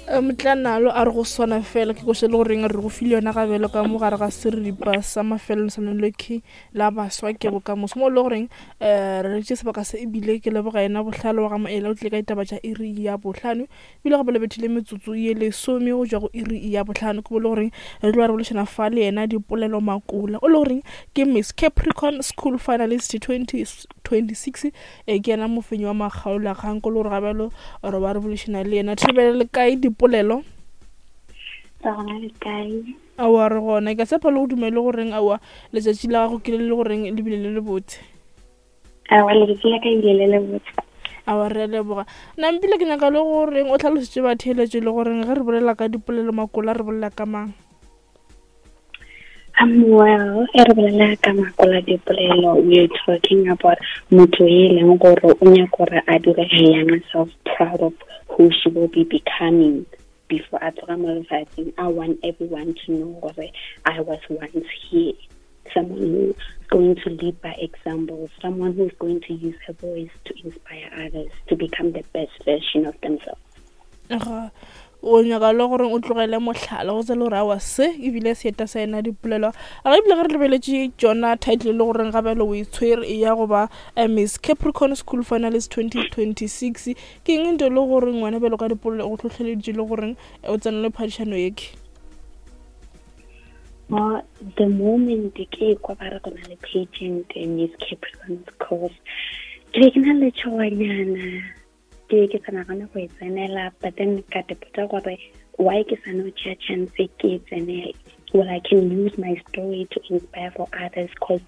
Motlanalo a re go swana fela ke koša le goreng re go file yona gabelo ka mo gare ga seripa sa mafelelo sa lelokhi la baswa ke bokamoso mo e le goreng um re tše sebaka se ebile ke leboga yena bohlale wa ga maela o tlile ka ditaba tša iri ya bohlano ebile gape le bethile metsotso ye lesome go tšwa go iri ya bohlano ke mo e le goreng re tlo ba re bolešana fa le yena dipolelo makola o le goreng ke Miss Capricorn School Finalist 2026 E ke yena mofenyi wa makgaolakgang ko le gore gabjalo re ba re bolešana le yena. Thobela le kae dipolelo? Re gona le kae? Aowa re gona. Ke a tshepa le go dumele goreng aowa letšatši la gago ke le le goreng le bile le le botse. Aowa letšatši la ka ebile le le botse. Aowa re a leboga. Nampile ke nyaka le goreng o tlhalosetše batheeletši le goreng ge re bolela ka dipolelo makola re bolela ka mang? Well, e re bolela ka makola dipolelo, we are talking about motho e leng gore o nyaka gore a dire her younger self proud of who she will be becoming before a tloga mo lefatsheng. I want everyone to know gore I was once here. Someone who's going to lead by example, someone who's going to use her voice to inspire others to become the best version of themselves. Ga o nyaka le gore o tlogele mohlala go tsela gore awa se ebile seeta sa yena dipolelo a ga ebile ge re lebeletše tšona title le goreng ga bjalo o e tshwere e ya go ba eh, Miss Capricorn School Finalist 2026 ke eng nto le gore ngwana bjalo ka dipolelo go hlohleleditše le goreng eh, o tsenele phadišano yeke? Well, the moment ke kwa ba re go na le pageant Miss Capricorn course ke be ke na le tšhoganyana ke ke sa nagane go e tsenela but then ka te gore why ke sa no tšea chance ke e tsenele well I can use my story to inspire for others because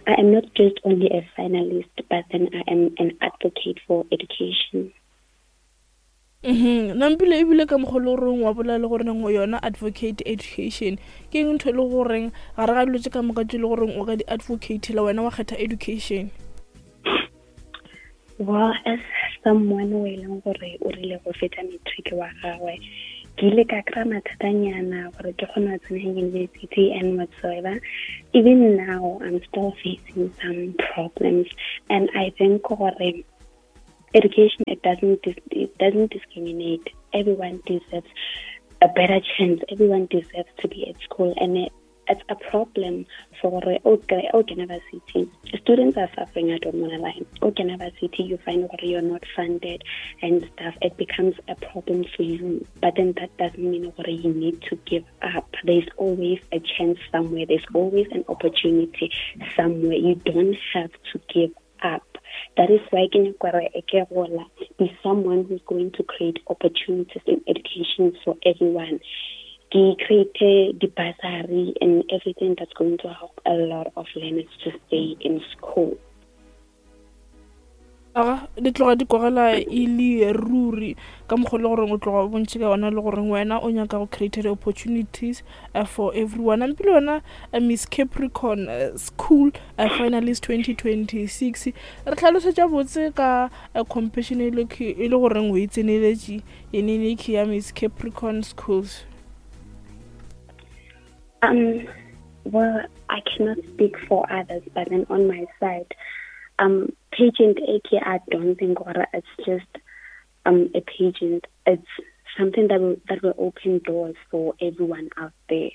I am not just only a finalist but then I am an advocate for education. Mhm nampile ebile ka mokgwa le goreng wa bolela le gore neng yona advocate education ke eng ntho e le goreng gare ga dilo tse ka moka tse le goreng o ka di advocate la wena wa kgetha education? Well, as someone o e leng gore o rile go fetsa matric wa gagwe, ke ile ka kry-a mathatanyana gore ke kgone go tsena university and whatsoever. Even now, I'm still facing some problems, and I think gore education it doesn't discriminate. Everyone deserves a better chance. Everyone deserves to be at school, and it, it's a problem for okay, okay, varsity. Students are suffering, I don't want to lie. Okay, varsity, you find that you're not funded and stuff. It becomes a problem for you. But then that doesn't mean that you need to give up. There's always a chance somewhere. There's always an opportunity somewhere. You don't have to give up. That is why ke nyaka be someone who's going to create opportunities in education for everyone. Ke create the bursary and everything that's going to help a lot of learners to stay in school. Aga di tloga di kwagala e le ruri ka mokgwa le goreng o tloga o bontšhe ka gona le goreng wena o nyaka go create the-opportunities uh, for everyone. Ampile wena uh, Miss Capricorn uh, School Finalist 2026 re tlhalosetša botse ka competition e le e le goreng o e tseneletše yeneneki ya Miss Capricorn Schools. Well, I cannot speak for others, but then on my side, pageant AK, I don't think or it's just a pageant. It's something that will open doors for everyone out there.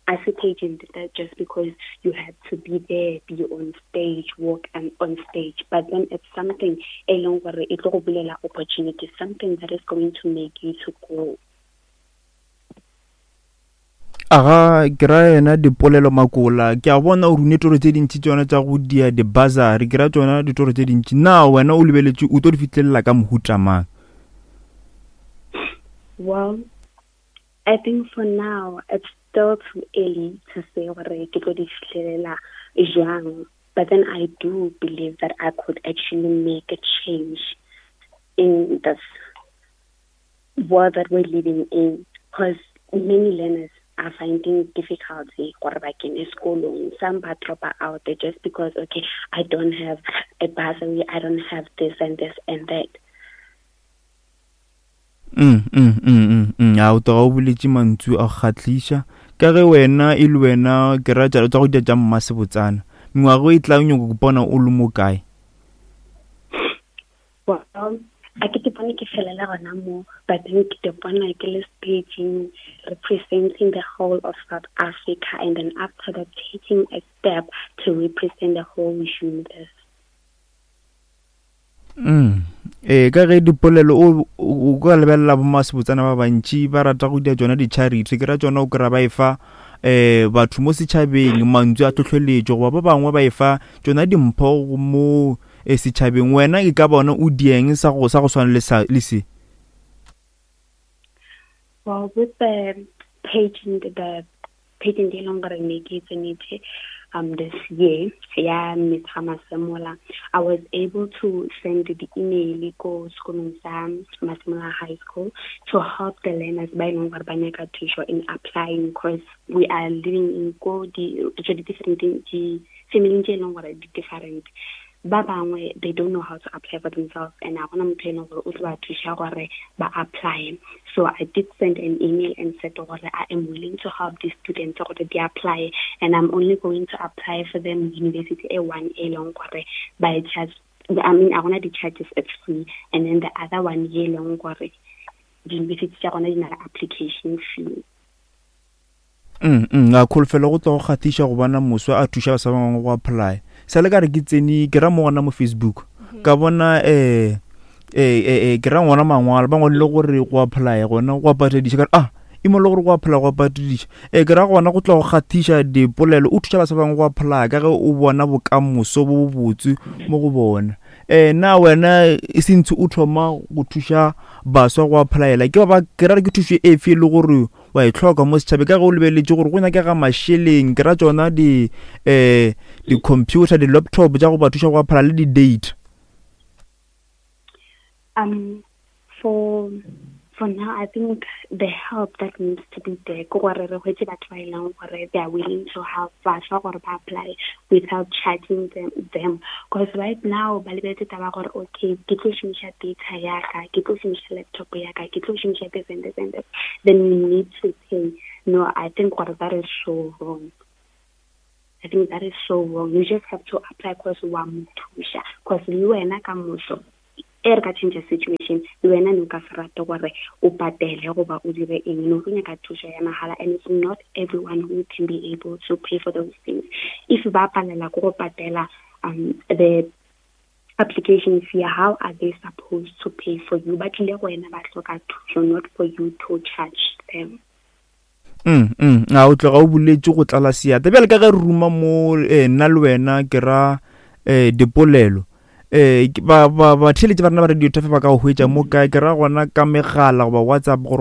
I see pageant that just because you have to be there, be on stage, walk and on stage, but then it's something along where it will be an opportunity, something that is going to make you to grow. Aga ke ra yena dipolelo makola ke a bona o rune toro tse dintši tsona tša go dia di-bursary ke ra tsona ditoro tse dintši na wena o lebeletše o tlo di fihlelela ka mohuta mang? Well, I think for now it's still too early to say gore ke tlo di fihlelela jwang, but then I do believe that I could actually make a change in this world that we're living in, because many learners are finding difficulty gore ba kene sekolong. Some ba drop out there just because, okay, I don't have a bursary, I don't have this and this and that. A o tloga o boletše mantšu a go kgahliša ka ge wena e le wena ke ra tša go dia tša mmasebotsana mengwaga e tla nyoko bona o le mo kae? Well, A ke te bone ke felela gona mo, but then ke te bona ke le staging representing the whole of South Africa, and then after that taking a step to represent the whole universe. Ee, ka ge dipolelo o o ka lebelela bomasebotsana ba bantši ba rata go dia tšona di-charity, ke ra tšona o kry-a ba e fa um batho mo setšhabeng mantswe a tlhotlheletšo, goba ba bangwe ba e fa tšona dimpho mo setšhabeng. Wena e ka bona o dieng sa go sa go swana le sa le se? Well, with the pageant, the pageant e leng gore ne ke tsenetse this year ya Miss Masemola, I was able to send the email ko sekolong sa Masemola High School to help the learners ba e leng gore ba nyaka thuso in applying, because we are living in ko di di different di family tse e leng gore di different. Ba bangwe they don't know how to apply for themselves, and a gona motho e leng gore o tlo ba thuša gore ba apply. So I did send an email and said gore I am willing to help these students gore di apply, and I'm only going to apply for them university e one e leng gore by charge, I mean a gona di-charges, it's free, and then the other one ye leng gore di-university tša gona di na le application fee. A kholofelo go tlo go kgathiša go bona moswa a thuša baswa ba bangwe go apply. Sa le ka re ke tsene ke ra mo gona mo Facebook, ka bona ke ra ngwana mangwalo ba ngwadile gore go apply gona go patediša, ka re ah e mo le gore go apply go patediša. Ke ra gona go tlo go kgathiša dipolelo o thuša baswa ba bangwe go apply ka ge o bona bokamoso bo bobotse mo go bona. Na wena e sentse o thoma go thuša baswa go applyela, ke ba ke ra ke thušo efe e le gore wa e hloka mo setšhabeng, ka ge o lebeletše gore go nyakega mašeleng, ke ra tšona di um di-computer, di-laptop tša go ba thuša go apply le di-data? For now, I think the help that needs to be there ke gore re hwetše batho ba e leng gore they are willing to help baswa gore ba apply without charging them, because right now ba lebeletse taba gore okay, ke tlo šomiša data ya ka, ke tlo šomiša laptop ya ka, ke tlo šomiša this and this and this, then you need to pay. No, I think gore that is so wrong. I think that is so wrong. You just have to apply because wa mo thuša, because le wena ka moso e re ka change situation, le wena ne o ka se rate gore o patele goba o dire eng, no tlo nyaka thušo ya mahala, and it's not everyone who can be able to pay for those things. If ba palela ko go patela the application fee, how are they supposed to pay for you? Ba tlile go wena ba hloka thušo, not for you to charge them. A o tloga o boletše go tlala seata. Bjale ka ge re ruma mo nna le wena ke ra dipolelo, batheeletši ba rena ba Radio Tafe ba ka go hwetša mo kae? Ke ra gona ka megala goba WhatsApp gore